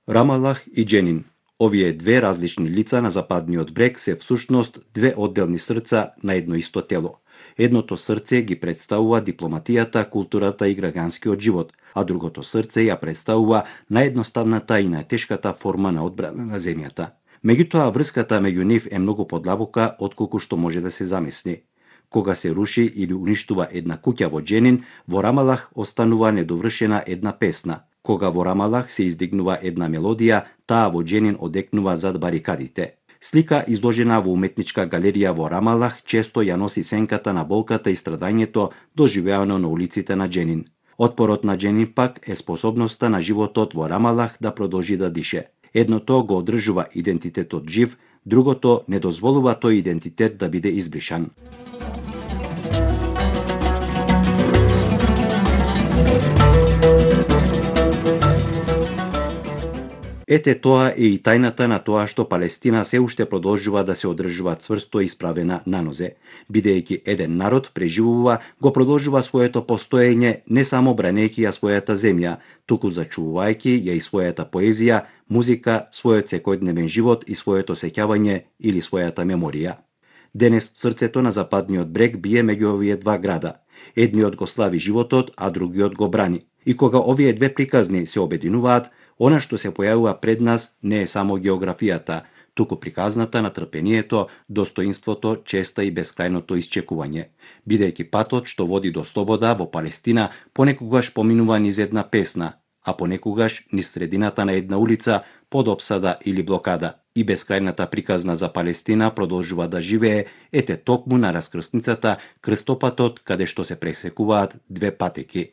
Рамалах и Дженин. Овие две различни лица на западниот брег се всушност две одделни срца на едно исто тело. Едното срце ги представува дипломатијата, културата и граѓанскиот живот, а другото срце ја представува наједноставната и најтешката форма на одбрана на земјата. Меѓутоа, врската меѓу нив е многу подлабока отколку што може да се замисли. Кога се руши или уништува една куќа во Дженин, во Рамалах останува недовршена една песна. Кога во Рамалах се издигнува една мелодија, таа во Дженин одекнува зад барикадите. Слика изложена во уметничка галерија во Рамалах често ја носи сенката на болката и страдањето доживеано на улиците на Дженин. Отпорот на Дженин пак е способноста на животот во Рамалах да продолжи да дише. Едното го одржува идентитетот жив, другото не дозволува тој идентитет да биде избришан. Ете, тоа е и тајната на тоа што Палестина се уште продолжува да се одржува цврсто исправена на нозе. Бидејќи еден народ преживува, го продолжува своето постоење не само бранејќи ја својата земја, туку зачувувајќи ја и својата поезија, музика, својот секојдневен живот и своето сеќавање или својата меморија. Денес срцето на западниот брег бие меѓу овие два града. Едниот го слави животот, а другиот го брани. И кога овие две приказни се обединуваат, она што се појавува пред нас не е само географијата, туку приказната на трпението, достоинството, честа и бескрајното исчекување. Бидејќи патот што води до слобода во Палестина понекогаш поминува низ една песна, а понекогаш низ средината на една улица под опсада или блокада. И бескрајната приказна за Палестина продолжува да живее, ете токму на раскрсницата, крстопатот каде што се пресекуваат две патеки.